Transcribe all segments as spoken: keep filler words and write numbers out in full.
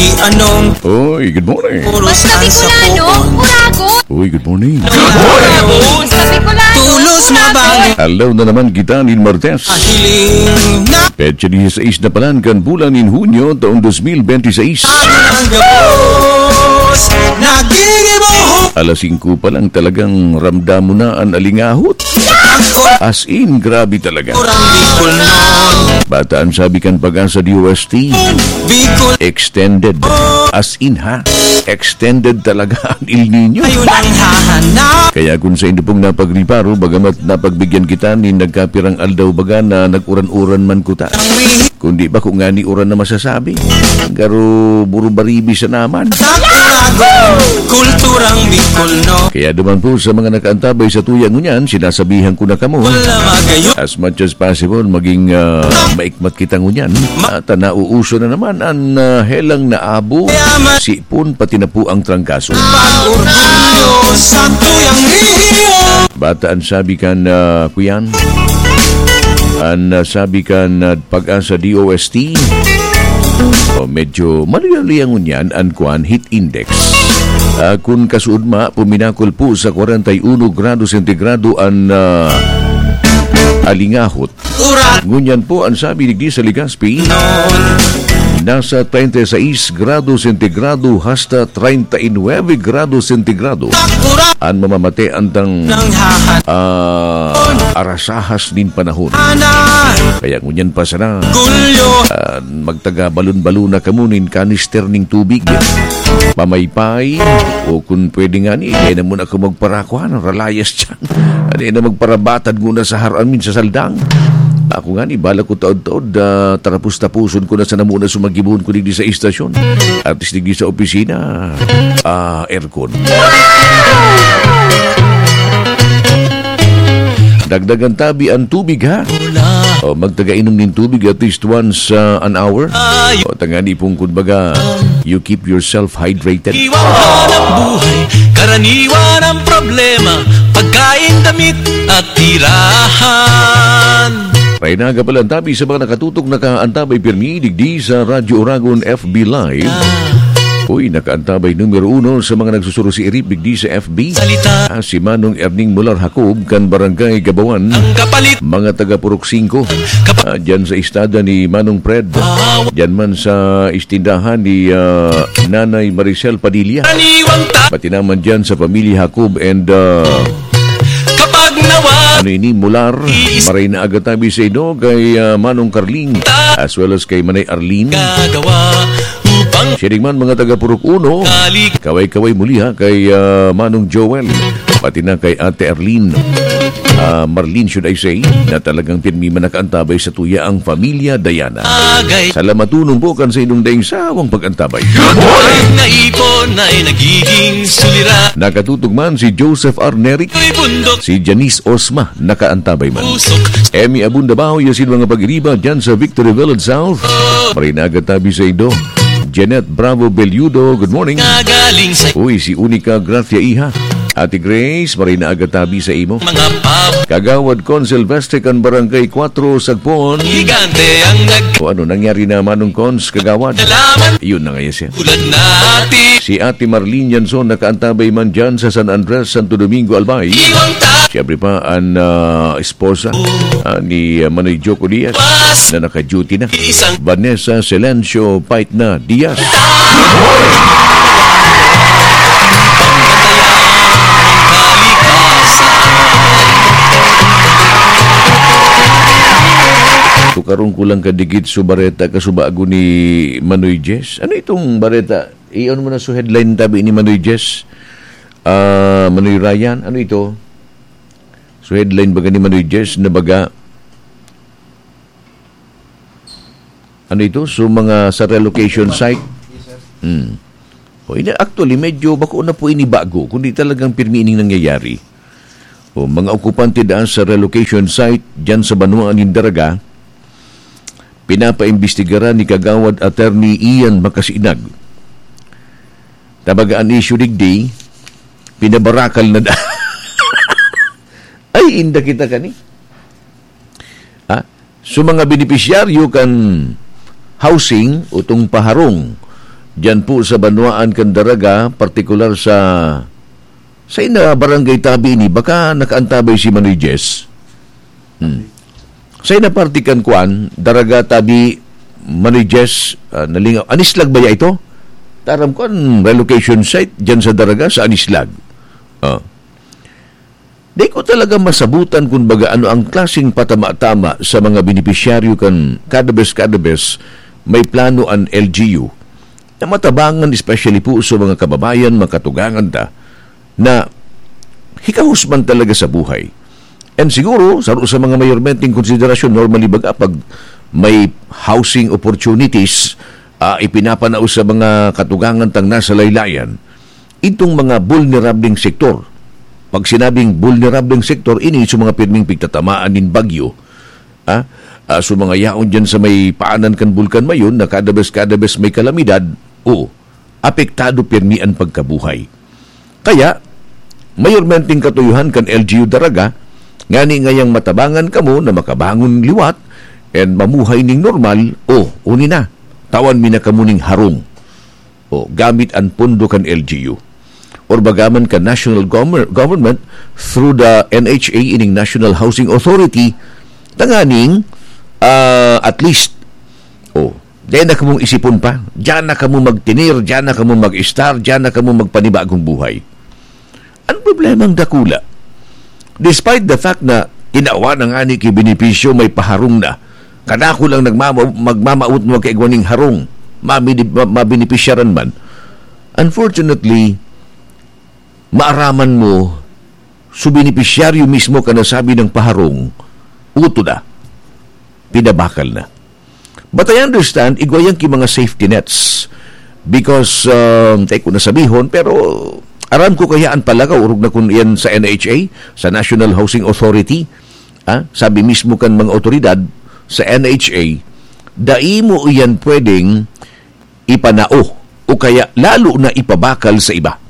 Anong Oy, good morning. Basta Bicolano, Uragon. Uy, good morning. Basta Bicolano, Tulos na Uragon. Aldaw na naman kita nin Martes. Ahiling na Petsa dieciséis na palan kan bulan nin Hunyo, taon dos mil benti seis. Ang gabos, nagigibo. Alas singko pa lang talagang ramdam mo na an alingahot. As in, grabe talaga. Kurang Bicol nun. Bata an sabi kan Pag-asa D O S T. Bicol. Extended. As in, ha? Extended talaga an El Niño. Ayun ang hahanap. Kaya kung sa inyo pong napagriparo, bagamat napagbigyan kita nin nagkapirang aldaw baga na nag-uran-uran man kuta. Kundi bako ngani uran na masasabi. Garo burubaribi sa naman. Sa Uragon, kulturang Bicol, no? Kaya duman po sa mga nakaantabay sa tuya ngunyan, sinasabihan ko na kamo. Wala magayon. As much as possible, maging, ah, maikmat kita ngunyan. Ma- At, ah, nauuso na naman ang, ah, helang naabo, Kaya ma- sipon, pati na po ang trangkaso. Pag-orgulyo sa tuyang rehiyon. Bata an sabi kan, ah, kuyan. An, ah, sabi kan, ah, Pag-asa D O S T. O, medyo maluya-luya ngunyan an kwan, heat index. Ah, kun kasuodma, puminakol po sa kwarenta y uno grado sentigrado an, ah, alingahot. Urat. Ngunyan po, an sabi digdi sa Legazpi, Non. nasa treinta y seis grado sentigrado hasta treinta y nueve grado sentigrado. Takura. An mamamate antang, Nang hahan. ah, arasahas nin panahon. Ana. Kaya ngunyan pa sana, Gulyo. ah, magtaga balon-balon na kamo nin kanister ning tubig. Pamaypay, o kun pwede ngani, dai na muna ako magparakuan, ralayas dyan. Dai na magparabatad nguna sa haramin sa saldang. Ako ngani, bala ko taod-taod, ah, tarapos-taposon ko na sana muna sumagibohon ko digdi sa istasyon. At least digdi sa opisina, ah, aircon. Dagdagan tabi ang tubig, ha? O, magtaga inom nin tubig at least once, ah, an hour. Ay. O, tangani pong kun baga, you keep yourself hydrated. Iwan ang buhay, karaniwan ang problema, pagkain, damit at tirahan. Maray na aga pala ang tabi sa mga nakatutok, nakaantabay pirmi digdi sa Radyo Oragon F B Live. Uy, nakaantabay numero uno sa mga nagsusuro si Erip digdi sa F B. Salita. Ah, si Manong Erning Mular Jacob kan Barangay Gabawan. Ang kapalit. Mga taga Purok Singko. Kapa- Ah, dyan sa istada ni Manong Fred. Wow. Dyan man sa istindahan ni, ah, Nanay Maricel Padilla. Aniwang ta- Pati naman dyan sa pamilya Jacob and, ah, Kapag nawa- Ano ini, Mular? Iis- Maray na aga tabi sa ido kay, ah, Manong Carling, as well as kay Manay Arlene. Gagawa upang Siya rin man, mga taga Purok Uno. Kalik- Kaway-kaway muli, ha, kay, ah, Manong Joel. Pati na kay Ate Arlene. Ah, Marlene, should I say, na talagang pirmi man nakaantabay sa tuya ang pamilya Dayana. Agay. Salamat tunong po kan sa inyong daing sawang pag-antabay. Good morning! Ang naipon ay nagiging sulira. Nakatutok man si Joseph R. Neric, Ito'y bundok. Si Janice Osma, nakaantabay man. Usok. Emmy Abunda Bao, yasin mga pag-iriba dyan sa Victory Village South. Oh. Maray na aga tabi sa ido. Janet Bravo Belludo, good morning. Nagaling sa Uy, si Unica Gracia Iha. Ate Grace, maray na aga tabi sa imo. Mga pub. Kagawad Con Silvestre kan Barangay Cuatro, Sagpon. Higante ang nag- O ano nangyari na, Manong Cons, Kagawad? Nalaman. Yun na ngayon siya. Tulad natin. Si Ate Marlene Yanson nakaantabay man dyan sa San Andres, Santo Domingo, Albay. Iwang ta- Siyempre pa, ang, ah, esposa, ah, ni, ah, Manoy Joko Diaz na naka-duty na. Isang Vanessa Silencio Paitna Diaz. Tukaron ko lang kadikit so bareta kasubago ni Manoy Jess. Ano itong bareta? Iyon mo na so headline tabi ni Manoy Jess. Ah, Manoy Ryan, ano ito? So headline baga ni Manoy Jess na baga, ano ito? So mga sa relocation site. Hmm. O, ini, actually, medyo bako na po ini bago, kundi talagang pirmi ining nangyayari. O, mga okupante daan sa relocation site dyan sa banwaan nin Daraga, pinapaimbestigaran ni Kagawad Attorney Ian Makasinag. Tabaga an issue digdi, pinabarakal na da-, Ay, inda kita kani. Ha? So, mga benepisyaryo kan housing, utong paharong Diyan po sa banwaan kan Daraga, partikular sa, sa ina barangay tabi ini, baka nakaantabay si Manoy Jess. Hmm. Sa ina parte kan kuan, Daraga tabi, Manoy Jess, ah, nalingaw. Anislag ba ya ito? Taram ko ang relocation site diyan sa Daraga, sa Anislag. Ah. Di ko talaga masabutan kung baga ano ang klaseng patama-tama sa mga benepisyaryo kan kada bes, kada bes may plano an L G U na matabangan, especially po sa mga kababayan, makatugangan ta na hikahos man talaga sa buhay. And siguro, saro sa mga mayormenteng konsiderasyon, normally baga pag may housing opportunities, ah, ipinapanao sa mga katugangan tang nasa laylayan, itong mga bulnerableng sektor. Pag sinabing bulnerableng sektor, ini sa mga pirming pigtatamaan nin bagyo, ah, ah, so mga yaon dyan sa may paanan kan Bulkan Mayon na kada bes, kada bes may kalamidad, o apektado pirmi an pagkabuhay. Kaya, mayormenteng katuyuhan kan L G U Daraga, ngani ngayang matabangan kamo na makabangon liwat and mamuhay ning normal, o, uni na, tawan mi na kamo ning harong. O, gamit an pondo kan L G U. Or bagaman kan national gomer-, government through the N H A, ining National Housing Authority, tanganing, ah, at least, o, dai na kamong isipon pa. Diyan na kamo magtinir, diyan na kamo mag-estar, diyan na kamo magpanibagong buhay. Ang problemang dakula, despite the fact na tinawan ang ani ki benepisyo, may paharong na, kadako lang nagmama-, magmamaot mo kay igwaning harong, mabini-, ma-, mabenepisyaran man. Unfortunately, maaraman mo, so benepisyaryo mismo ka nasabi ng paharong, uto na, pinabakal na. But I understand, igwa yan ki mga safety nets. Because, um, tayo ko nasabihon, pero aram ko kaya ang palagaw, orog na kun yan sa N H A, sa National Housing Authority, ah, sabi mismo kan mga otoridad sa N H A, dai mo iyan pwedeng ipanao o kaya lalo na ipabakal sa iba.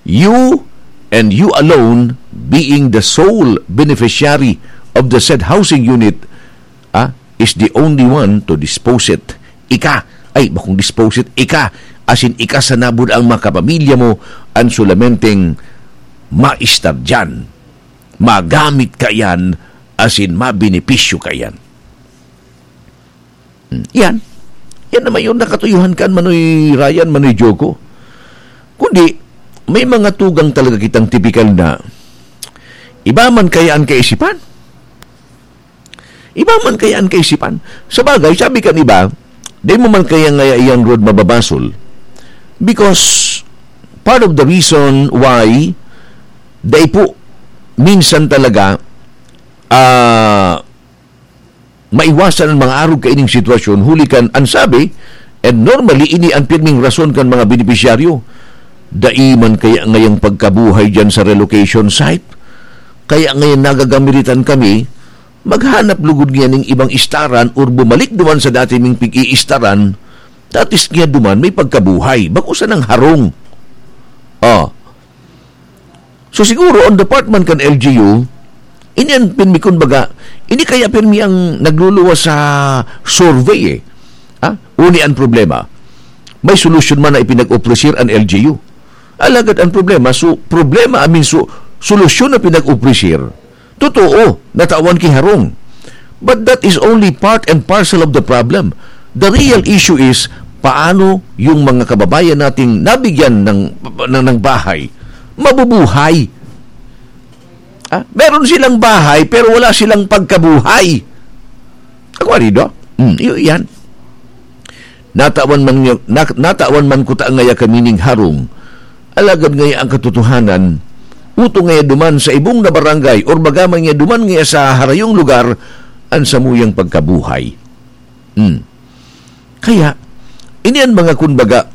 You and you alone being the sole beneficiary of the said housing unit, ah, is the only one to dispose it. Ika, ay, bakong dispose it, ika, asin ika sa nabod ang mga kapamilya mo, ang sulamenteng maistar dyan. Magamit ka yan, asin mabenepisyo ka yan. Hmm, yan. Yan naman yung nakatuyuhan kan Manoy Ryan, Manoy Joko. Kundi, may mga tugang talaga kitang tipikal na iba man kaya ang kaisipan. Iba man kaya ang kaisipan. Sa bagay, sabi kan iba, di mo man kaya ngaya iyan, Rod, mababasol. Because part of the reason why dai po minsan talaga, ah, maiwasan ang mga arog kaining sitwasyon, huli kan an sabi, and normally ini an pirming rason kan mga benepisyaryo. Dai man kaya ngayang pagkabuhay diyan sa relocation site? Kaya ngayon nagagamiritan kami, maghanap lugod niya ning ibang istaran or bumalik duman sa dati ming pig-iistaran, that is niya duman may pagkabuhay, bako sanang harong. Ah. So siguro, ang department kan L G U, ini ang pirmi, kun baga, ini kaya pirmi ang nagluluwas sa survey eh. Ha? Uni ang problema. May solusyon man na ipinag-ofrecer ang L G U. Alagad ang problema, so, problema, I mean, so, solusyon na pinag-ofrecer, totoo, natawan ki harong. But that is only part and parcel of the problem. The real issue is, paano yung mga kababayan nating nabigyan ng, ng, ng bahay, mabubuhay? Ah, meron silang bahay, pero wala silang pagkabuhay. Ako, arido? Hmm, iyo yan. Natawan man niya, na-, natawan man kuta ngaya kami ning harong. Alagad ngaya ang katotohanan, uto ngaya duman sa ibong na barangay, or baga man ngaya duman ngaya sa harayong lugar, ang samuyang pagkabuhay. Hmm. Kaya, ini an mga, kumbaga,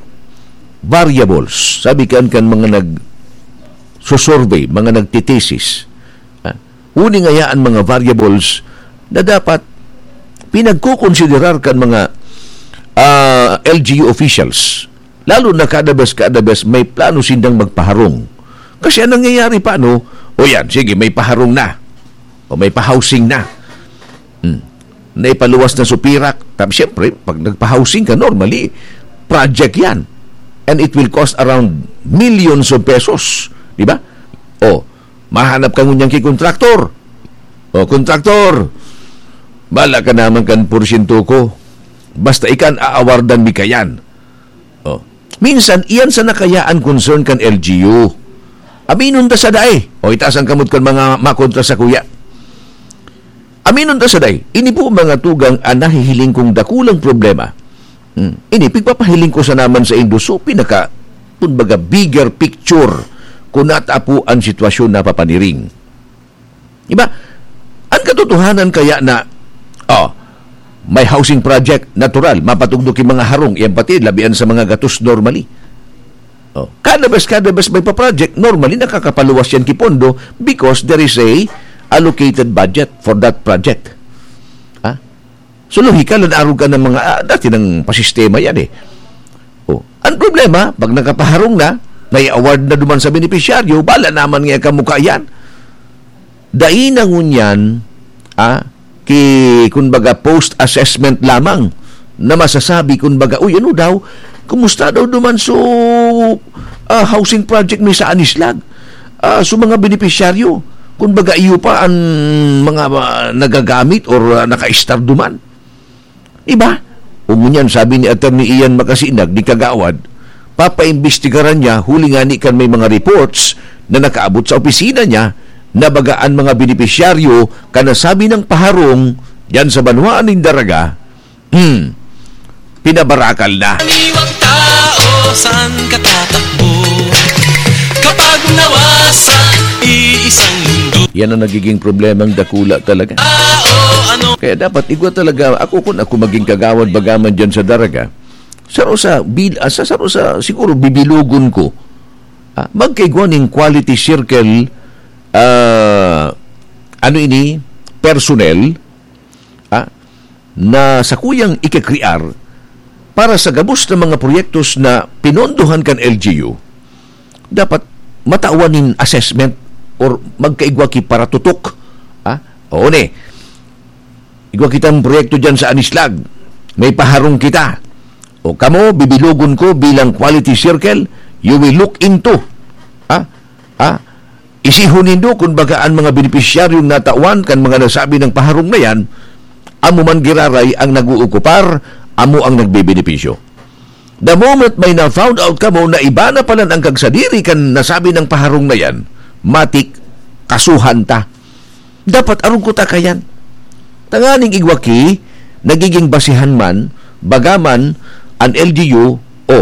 variables. Sabi kan, kan mga nag-, so-survey, mga nagtitesis. Ah, uni ngaya an mga variables na dapat pinagkukonsiderar kan mga, ah, L G U officials. Lalo na kada bes, kada bes may plano sindang magpaharong. Kasi ang nangyayari pa, no? O yan, sige, may paharong na. O may pa-housing na. Hmm. Naipaluwas na sa pirak. Tapos, siyempre, pag nagpa-housing ka, normally, project yan. and it will cost around millions of pesos. Di ba? O, mahanap ka ngunyan ki kontraktor. O, kontraktor, bala ka naman kan porsyento ko. Basta ikan aawardan mi kayan. O, minsan, iyan sana kaya an concern kan L G U. Aminon ta sa dai. O, itaas ang kamot kan mga makontra sa kuya. Aminon ta sa dai. Ini po mga tugang an nahihiling kong dakulang problema. Hmm. Ini, pigpapahiling ko sa naman sa indo. So, pinaka, kumbaga, bigger picture kung nata po an sitwasyon na papaniring. Diba? Ang katotohanan kaya na, oh, may housing project, natural, mapatugdok yung mga harong, yan pati, labian sa mga gatos normally. Oh, kada bes, kada bes may pa-project, normally nakakapaluwas yan ki pondo because there is a allocated budget for that project. Ha? So, lohikal, nag-arog ka ng mga, ah, dati nang pasistema yan eh. Oh, ang problema, pag nakapaharong na, may award na duman sa benepisyaryo, bala naman nga kamukha yan. Dai na ngunyan, ah, ki, kumbaga, post-assessment lamang na masasabi, kumbaga, "Uy, ano daw? Kumusta daw duman so, ah, housing project may sa Anislag? Ah, so mga benepisyaryo, kumbaga, iyo pa ang mga, ah, nagagamit or, ah, naka-star duman?" Iba? O ngunyan, sabi ni Attorney Ian Makasinag, ni Kagawad, papaimbestigaran niya, huli ngani kan may mga reports na nakaabot sa opisina niya na baga an mga benepisyaryo kan nasabi nang paharong diyan sa banwaan nin Daraga, hmm, pinabarakal na. Aniwang tao, saan ka tatakbo? Kapag nawasa, iisang mundo. Yan ang nagiging problemang dakula talaga. Tao, ano? Kaya dapat igwa talaga, ako, kung ako maging kagawad bagaman diyan sa Daraga, saro sa bil-, ah, sa saro sa, siguro, bibilugon ko, ah, magkaigwa ning quality circle, ah, ano ini, personnel, ah, na sakuyang ikakrear para sa gabos na mga proyektos na pinondohan kan L G U, dapat matawan nin assessment or magkaigwa ki paratutok. Ah, oo ni. Igwa kitang proyekto diyan sa Anislag. May paharong kita. O kamo, bibilugon ko bilang quality circle, you will look into. Ah, ah, isihon nindo, kun baga, an mga benepisyaryong natawan kan mga nasabi nang paharong na yan, amo man giraray ang nag-uukupar, amo ang nagbebenepisyo. The moment may na-found out kamo na iba na palan ang kagsadiri kan nasabi nang paharong na yan, matik, kasuhan ta. Dapat arog ko ta kayan. Tanganing igwa ki, nagiging basihan man, baga man, an L G U, o,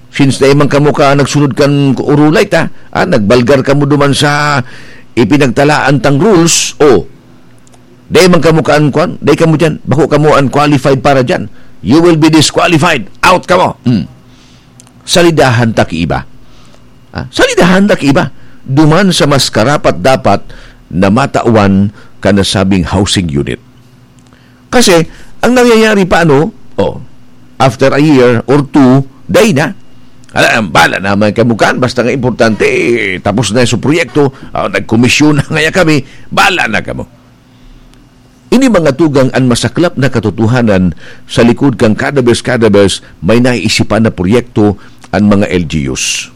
since dai man kamo ka nagsunod kan urulay ta, ah, nagbalgar kamo duman sa ipinagtalaan tang rules, o, dai man kamo kaan, kwan, dai kamo dyan, bako kamo unqualified para dyan. You will be disqualified. Out kamo. Hmm. Salidahan ta ki iba. Ah, salidahan ta ki iba. Duman sa mas karapat-dapat na matawan kan nasabing housing unit. Kasi, ang nangyayari pa, ano, oh, after a year or two, dai na. Ala, bala naman kamo kan, basta nga importante, eh, tapos na yung proyekto, ah, nagkomisyon na ngaya kami, bala na kamo. Ini mga tugang an masaklap na katotohanan sa likod kan kada bes, kada bes may naisipan na proyekto an mga L G Us.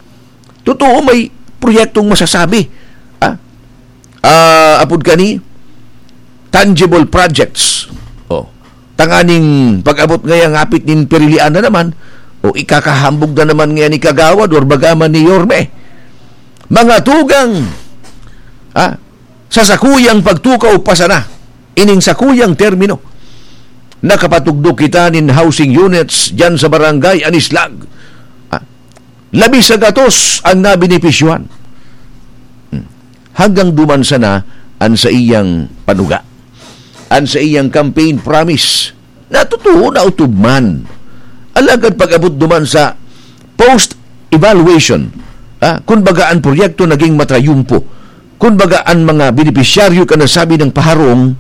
Totoo, may proyektong masasabi. Ah, ah, apod kani, tangible projects. Oh, tanganing pag-abot ngaya ngapit nin pirilian na naman, o ikakahambog na naman ngaya ni Kagawad or baga man ni Yorme. Mga tugang, ah, sa sakuyang pagtukaw pa sana, ining sakuyang termino, nakapatugdok kita nin housing units diyan sa Barangay Anislag. Ah, labi sa gatos ang nabenepisyohan. Hmm. Hanggang duman sana an saiyang panuga, an saiyang campaign promise. Natutuo na utub man. Alagad pag-abot duman sa post-evaluation, ah, kun baga an proyekto naging matrayumpo, kun baga an mga benepisyaryo kan nasabi nang paharong,